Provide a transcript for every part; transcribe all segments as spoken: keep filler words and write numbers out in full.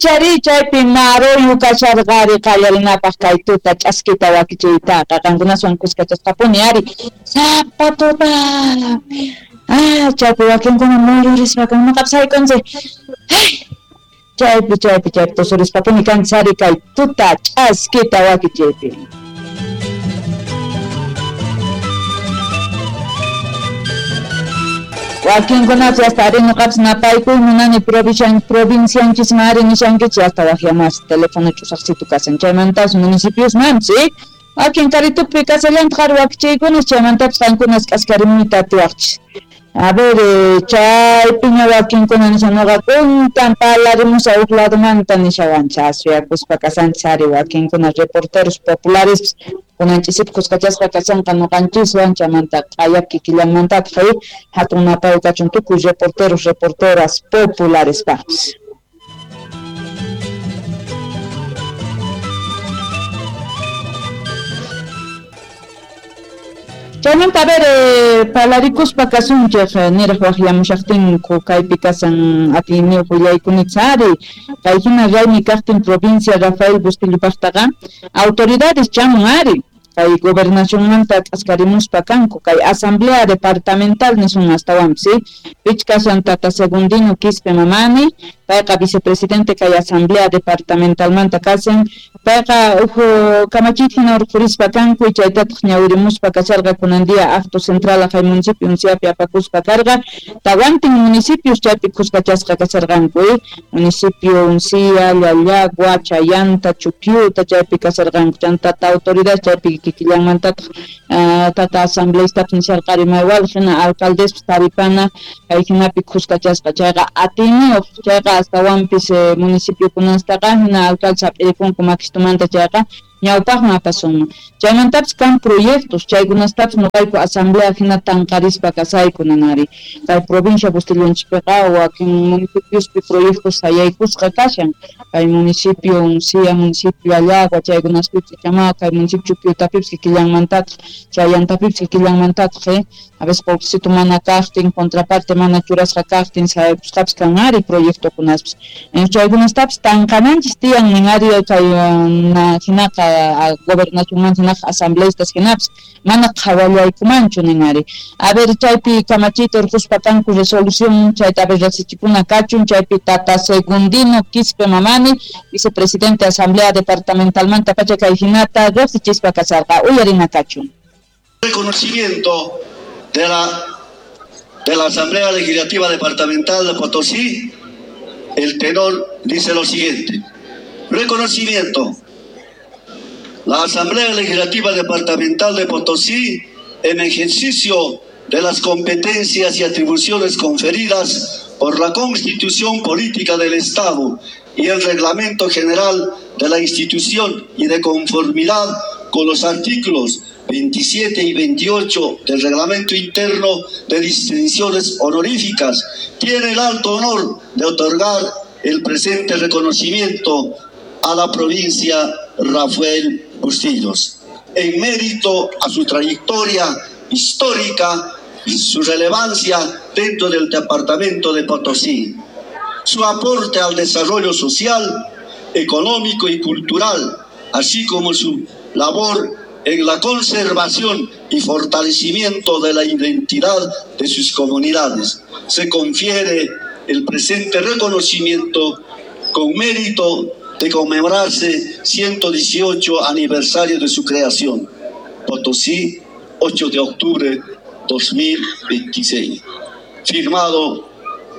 Chaychari chaypi maruyu kasharqari qallarinapaq kay tuta ch'askita wakichiytaqa qankunaswan kuskachasqapuni ari sapa tuta. Ah, chaypi wakinkuna muyurispa kan noqapas haykunchik. Chaypi chaypi chaypi tusurispapuni kanchis ari kay tuta ch'askita wakichiypi. Wakinkunapas hasta ari noqapas napaykuy munani provincianchisman ari nishankichis hasta waqyamas teléfono ch'usaqsitu kasan chaymantapas municipiosmanpas wakin karitupi kasallantaq ari wakichiykunas chaymantapas qankunas k'askarimuyta atiwaqchis. A ver, chaypiña wakinkuna nishan noqa kuntan parlarimusaq huk ladomanta nishawanchis asuyakuspa kasanchis ari wakinkuna reporteros populares kunan ch'isipi kuskachasqa kashanqa noqanchiswan chaymanta q'aya kikillanmantataq hatun napayu kachun tukuy reporteros reporteras popularespaqpis. Chaymanta a ver, eh, parlarikuspa kasunchik niraq waqyamushaqtinku kaypi kasan atiyniyuq willaykunitsa ari kay hina raymi kaqtin provincia Rafael Bustillo-paqtaqa autoridades chamun ari kay gobernacionmanta k'askarimuspa kanku kay asamblea departamental nisun astawanpis pich kasan tata Segundino Quispe Mamani payqa vicepresidente kay asamblea departamentalmanta kasan payqa uj kamachiyta hina urqhurispa kanku chaytataq ñawirimuspa kasharqa kunan día acto central kay municipio Unciapi apakuspa karqa tawantin municipios chaypi kuskachasqa kasharqanku municipio Uncia, Llallagua, Chayanta, Chuquiuta chaypi kasharqanku chantata autoridad chaypi kikillanmantataq tata asambleistapis nisharqari maywal hina alcaldespis taripana kay hinapi kuskachasqa chayqa atiyniyuq chayqa astawanpis municipiokunastaqa hina alcaldes hap'irikunku makistumanta chayqa ñawpaqman apasunman chaymantapis kan proyectos chaykunastapis noqayku asamblea hina tanqarispa kasayku nanari kay provincia Bustilonchispiqa wakin municipiospi proyectos sayaykusqa kashan kay municipio Uncia, municipio Llallagua chaykunaspipis ichama kay municipio Chuquiutapipis kikillanmantataq Chayantapipis kikillanmantataq eh a veces qullqisitu mana kaqtin contraparte mana churasqa kaqtin sayaykusqapis kan ari proyectokunaspis chaykunastapis tanqananchis tiyan nin ari kay hinaqa gobernacionmanta hinaqa asambleistas hinapis mana qhawallaykumanchu nin ari a ver chaypi kamachiyta urqhuspa kanku resolución chayta a ver riqsichikuna kachun chaypi tata Segundino Quispe Mamani vicepresidente asamblea departamentalmanta pacha kay hinata riqsichispa kasharqa uyarina kachun. Reconocimiento de la, de la Asamblea Legislativa Departamental de Potosí, el tenor dice lo siguiente. Reconocimiento. La Asamblea Legislativa Departamental de Potosí, en ejercicio de las competencias y atribuciones conferidas por la Constitución Política del Estado y el Reglamento General de la institución y de conformidad con los artículos veintisiete y veintiocho del Reglamento Interno de Distinciones Honoríficas, tiene el alto honor de otorgar el presente reconocimiento a la provincia Rafael Bustillos, en mérito a su trayectoria histórica y su relevancia dentro del departamento de Potosí, su aporte al desarrollo social, económico y cultural, así como su labor en la conservación y fortalecimiento de la identidad de sus comunidades. Se confiere el presente reconocimiento con mérito de conmemorarse ciento dieciocho aniversario de su creación. Potosí, ocho de octubre dos mil veintiséis. Firmado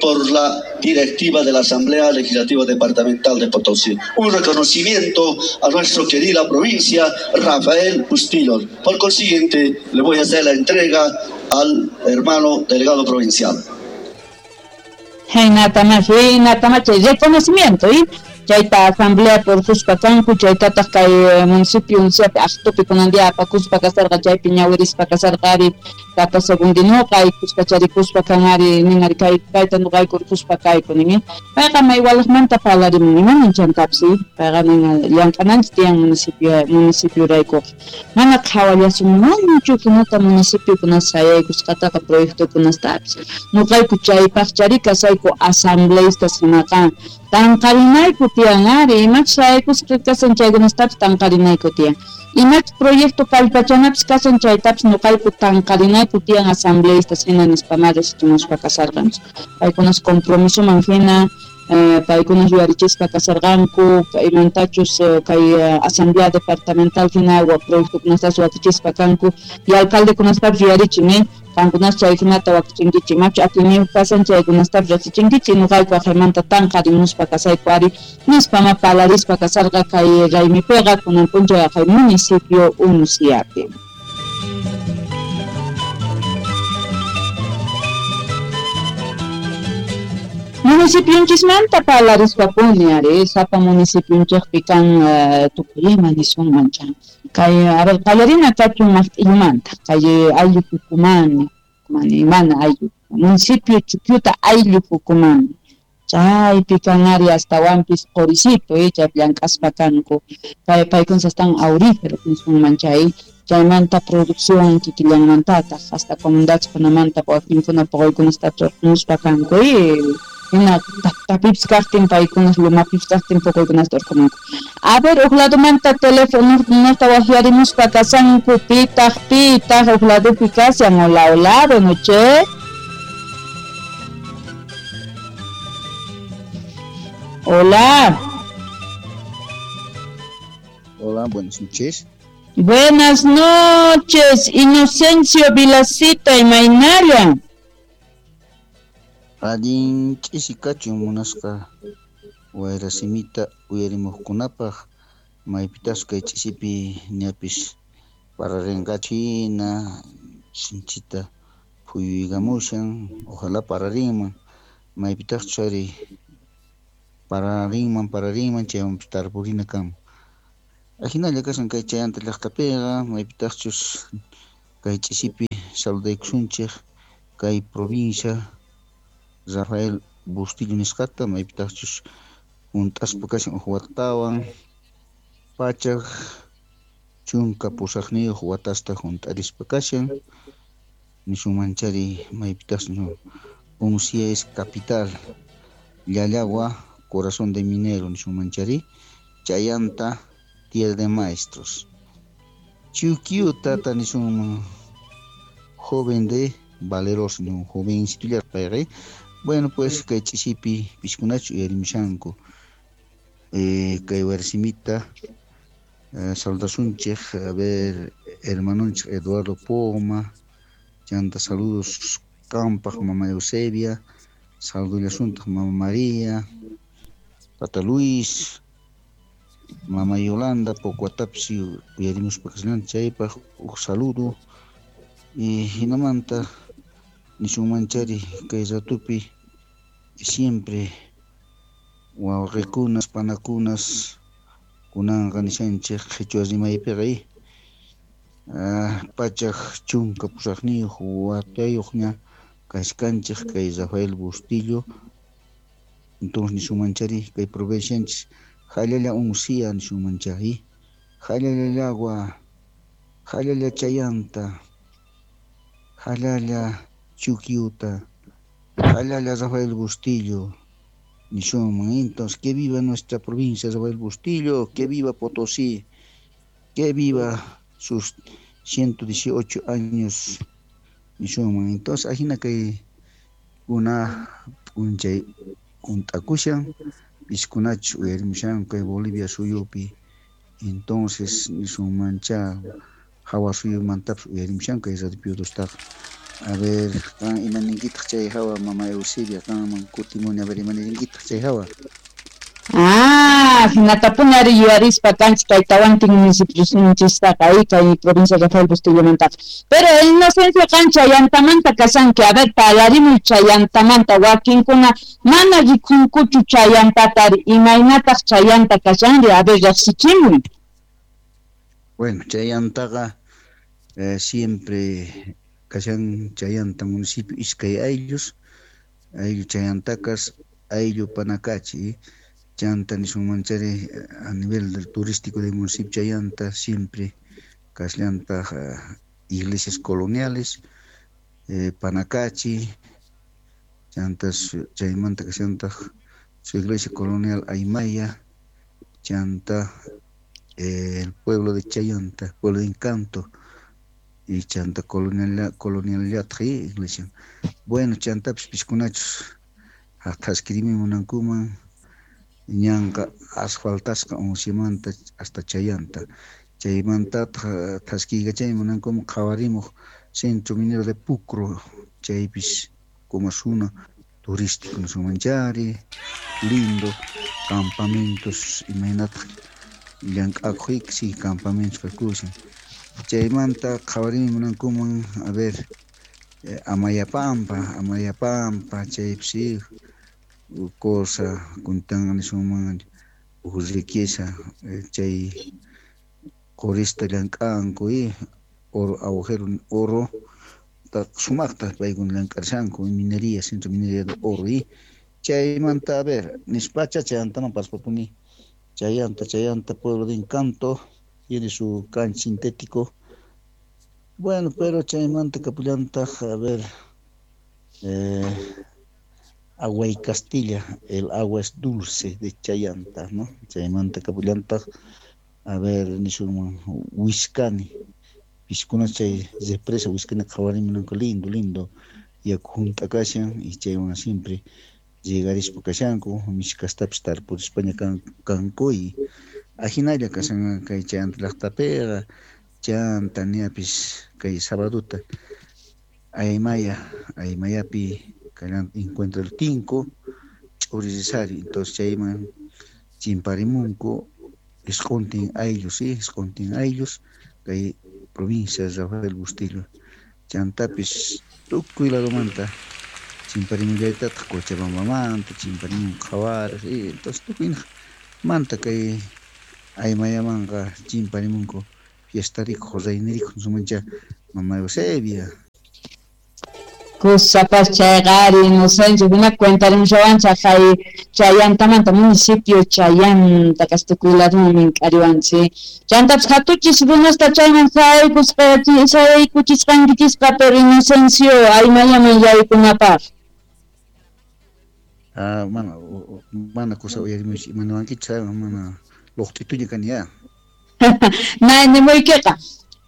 por la directiva de la Asamblea Legislativa Departamental de Potosí. Un reconocimiento a nuestra querida provincia, Rafael Bustillos. Por consiguiente, le voy a hacer la entrega al hermano delegado provincial. Reconocimiento, ¿eh? Chayta asamblea por kanku chaytataq kay municipio Unciapi aqtupi kunan día apakuspa kasarqa chaypi ñawirispa kasarqa ari tata Segundinoqa kuskacharikuspa kan ari nin ari kay kayta nuqayku urquspa kayku nin payqa maywalaqmanta parlarimun imanin chantapis payqa nin llank'ananchis tiyan municipio municipioraykuqa mana qhawallasunmanchu hinata municipiokunas sayaykusqataqa proyectokunastapis nuqayku chaypaqchari kasayku asambleistas hinaqa tanqarinayku tiyan ari, imachus sayaykusqa kashan chaykunastapis tanqarinayku tiyan. Imachus proyecto kallpachanapis kashan chaytapis ñuqayku tanqarinayku tiyan asambleístas hina nispamá riqsichimuspa kasarqanchik. Paykunas compromisoman hina eh, paykunas yuyarichispa kasarqanku, imantachus kay asamblea departamental hina proyectokunastas wakichispa kanku y alcaldekunastapis yuyarichin, eh? Qankunas chay hinata wakichinkichik, imachu atiyniyuq kasan chaykunastapis riqsichinkichik, ñuqayku aqhaymanta tanqarimuspa kasayku ari nispama palarispa kasarqa kay raymipiqa kunan p'unchay aqhay municipio Unciapi. Municipionchismanta parlarispapuni ari, sapa municipionchikpi kan uh, tukuy ima nisunman chan. Kay, a ver, qallarina kachun maqt'illumanta, kay ayllu Pukumani, Pukumani, mana ayllu, municipio Chukyuta ayllu Pukumani. Chaypi kan ari astawanpis Qorisito, eh, chaypi llank'aspa kanku. Kay paykunas astawan aurífero nisunman chay. Chaymanta producción kikillanmantataq, hasta comunidadkunamanta wakinkuna puquykunastapis urqumuspa kanku, eh, hina tapipis kaqtin paykunas lumapipis kaqtin puquykunasta urqumunku. A ver, huk ladomanta teléfono waqyarimuspa kasanku, pitaq pitaq huk ladopi kashan, hola, hola, buenas noches. Hola. Hola, buenas noches. Buenas noches, Inocencio Vilacita y Mainaya. Allin ch'isi kachun munasqa wayrasimita uyarimuqkunapaq maypitas kay ch'isipi ñapis pararinqachina sinchita phuyuykamushan, ojalá pararinman maypitaqchus ari pararinman pararinman chaywanpis tarpurina kanman. Ajinalla kashan kay chayanta llaqtapiqa maypitaqchus kay ch'isipi saludaykusunchik kay provincia Rafael Bustillo nisqata maypitaqchus hunt'aspa kashan huk watawan pachak chunka pusaqniyuq watasta hunt'arispa kashan nisunmanchari maypitaqchus Uncia es capital Llallagua corazón de minero nisunmanchari chayanta tierra de maestros Chukyuta tata nisunman joven de valeroso un jovencito payqa. Bueno, pues kay ch'isipi piskunachu uyarimushanku eh, kay warsimita eh, saludasunchik a ver hermanonchik Eduardo Poma chanta saludos qampaq mama Eusebia saludullasuntaq mama María tata Luis mama Yolanda poco atapis uyarimuspa kashan chaypaq huk saludo y hinamanta nisunmanchari kay ratupi siempre wawqikunas panakunas kunanqa nishanchik qhichwa rimaypiqa ah, pachak chunka pusaqniyuq watayuqña kashkanchik kay Rafael Bustillo entonces nisunmanchari kay provincianchis Jallalla Uncia nisunmanchari Jallalla Llagua Jallalla Chayanta Jallalla Chukyuta, Jallalla Rafael Bustillo, nisunman. Entonces, que viva nuestra provincia Rafael Bustillo, que viva Potosí, que viva sus ciento dieciocho años, nisunman. Entonces, ajina kay una p'unchay hunt'akushan, piskunachu uyarimushan kay Bolivia suyupi. Entonces, nisunmancha hawa suyumantapis uyarimushan kay Radio Piodostaqa. A ver, qan imaninkitaq chay hawa mama Eusebia qanman kutimuni a ver imaninkitaq chay hawa. Ah, hinatapuni ari yuyarispa kanchik kay tawantin municipiosninchistaqa kay provincia Rafael Bustillomantaqa. Pero Inocencio qan chayantamanta kashanki, a ver, parlarimuy chayantamanta wakinkuna mana rikunkuchu chayantatari, imaynataq chayanta kashanri, a ver, riqsichimuy. Bueno, chayantaqa eh, siempre kashan chayanta municipio iskay ayllus, ayllu chayantakas, ayllu Panacachi, chanta nisunmanchari a nivel del turístico del municipio Chayanta siempre kasllantaq uh, iglesias coloniales, eh, Panacachi, chantas chaymanta kashantaq su iglesia colonial Aymaya, Chanta, eh, el pueblo de Chayanta, pueblo de Encanto, y Chanta colonial colonial iglesia. Bueno, chantapis piskunachus thaskirimi munankuman ñanqa asfaltasqa uncimanta hasta Chayanta. Chaymantataq thaskiykachay munankuman qhawarimuq centro minero de Pucro, chaypis como zona turístico nisunmanchari, lindo, campamentos imaynataq llank'akuq sí, campamentos kakushan. Chaymanta qhawarimi munankuman, a ver, eh, Amayapampa, Amayapampa, chaypis sí, cosa kuntan nisunman uj riqueza, eh, chay qurista llank'anku y oro, agujero oro, sumaqta paykuna llank'arishanku, minería, centro minería de oro y chaymanta, a ver, nispacha chayantaman paspapuni, Chayanta, Chayanta, pueblo de Encanto, tiene su cancha sintético. Bueno, pero chaymanta kapullantaq, a ver, eh, agua y Castilla, el agua es dulce de Chayanta, ¿no? Chaymanta kapullantaq, a ver, nisunman Huiscani, piskuna chay represa Huiscani qhawarimunanku lindo, lindo, yaku hunt'a kashan y chaywan siempre llegarispa kashanku, mishkastapis tarpurispaña kan, kanku y ajinalla kashan kay Chayanta llaqtapiqa, chanta niapis kay sabaduta Aymaya, Aymayapi kallan encuentro el Tinco, ch'uririsari, entonces chayman chimparimunku isquntin ayllus, sí, isquntin ayllus kay provincia de Rafael Bustillo, chantapis tukuy ladomanta chimparimullaytataq Cochabambamanta, chimparimun qhawarej, y entonces tukuy manta kay Aymayamanqa chimparimunku fiestarikuq, raynirikuq nisunmancha mama Eusebia. Kusapas chayqari Inocencio, hina cuentarimushawanchaq kay Chayantamanta municipio Chayanta kastukuy laduman mink'ariwanchik. Chantapis hatuchis runasta chayman sayaykuspa sayaykuchisqankichisqa pero Inocencio Aymayaman yaykunapaq. Ah, mana mana kusa uyarimuch imanawankichis mana luqt'ituña kani ya. Nay nimuykiqa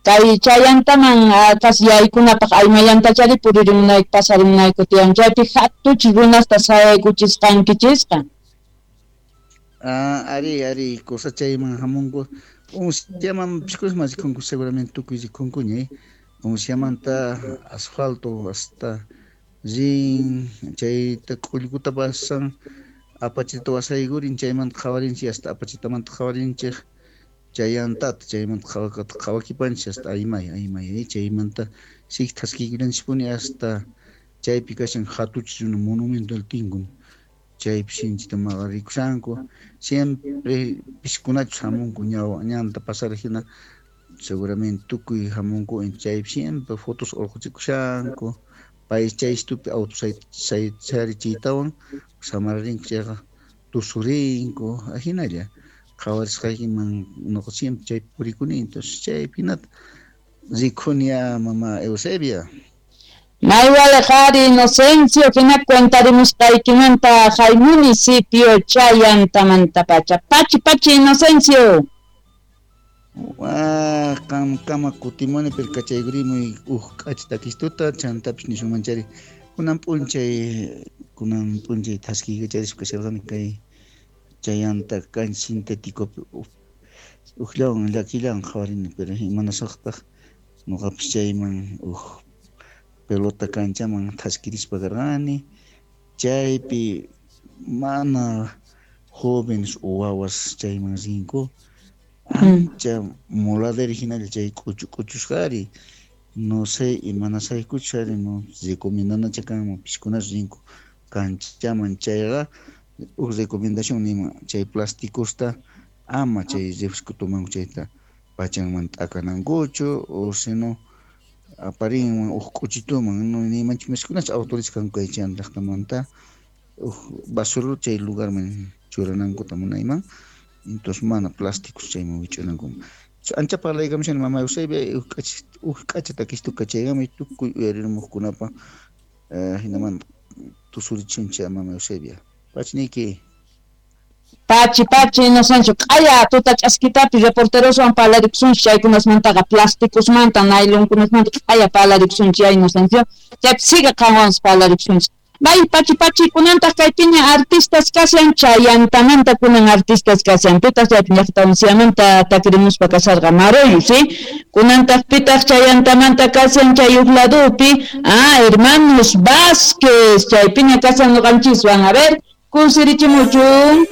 kay Chayantaman kas yaykunapaq Aymayantachari puririmunayku pasarimunayku tiyan chaypi hatuchis runasta sayaykuchisqankichisqa. Ah, ari ari kusa chayman hamunku unciaman piskusman rikunku seguramente tukuy rikunkuña eh. Unciamanta asfalto hasta rin chayta k'ullkuta pasan apachita wasaykurin chaymanta qhawarinchik hasta apachitamanta qhawarinchik chayantata chaymanta qhawakipanchik hasta Aymaya Aymaya chaymanta sik thaskiykullanchikpuni hasta chaypi kashan hatuchis runa monumento del Tinco chaypi sinchita maqarikushanku siempre piskunachus hamunku ñawa ñanta pasar hina seguramente tukuy hamunku chaypi siempre fotos urquchikushanku pay chay stupi auto sayarichiytawan samararinku chayqa tusurinku ajinalla qhawarisqaykiman nuqa siempre chaypi purikuni entonces chaypi hinata rikuni ya mama Eusebia. Maywale qhari Inocencio hina cuentarimusqaykimanta hay municipio Chayantamantapacha. Pachi pachi Inocencio. Ah, qam kama kutimuni pero kachaykurimuy uj k'acha takistuta chantapis nisunmanchari kunan p'unchay kunan p'unchay thaskiykacharispa kasharqani kay Chayanta cancha sintéticopi ujllawan llakillan qhawarini pero imanasaqtaq nuqapis chayman uj pelota canchaman thaskirispa karqani chaypi mana jóvenes o wawas chayman rinku ancha muladera hinalla chay k'uchu k'uchusqari no sé imanasaykuchus ari no recomendanacha kanman piskunas rinku canchaman chayqa uj recomendación nima chay plasticosta ama chay refresco tomanku chayta pachanman t'akanankuchu o sino aparinman uj k'uchituman no nimanchik miskunas autorizas kanku kay chay llaqtamanta uj basurero chay lugarman churanankuta munayman entonces mana plásticos chayman wich'anankuman ancha parlaykamushani mama Eusebia uj k'acha uj k'acha takistu kachaykami tukuy uyarimuqkunapa hinaman tusurichuncha mama Eusebia. Pachniki. Pachi, pachi, Inocencio, q'aya tuta ch'askitapi reporteroswan parlarikusunchik chaykunasmantaqa plásticosmanta, nailonkunasmanta q'aya parlarikusunchik ya Inocencio, chaypi siga qanwanpas parlarikusunchik. Bay, pachi, pachi, kunantaq kaypiña artistas kashan, chayantamanta kunan artistas kashan, pitaq chaypi llaqta takirimuspa kasharqa Maroyo, ¿sí? Kunantaq pitaq chayantamanta kashan chay uq ladupi, ah, hermanos Vázquez, chaypiña kashan ñuqanchiswan, a ver, kusirichimuchun.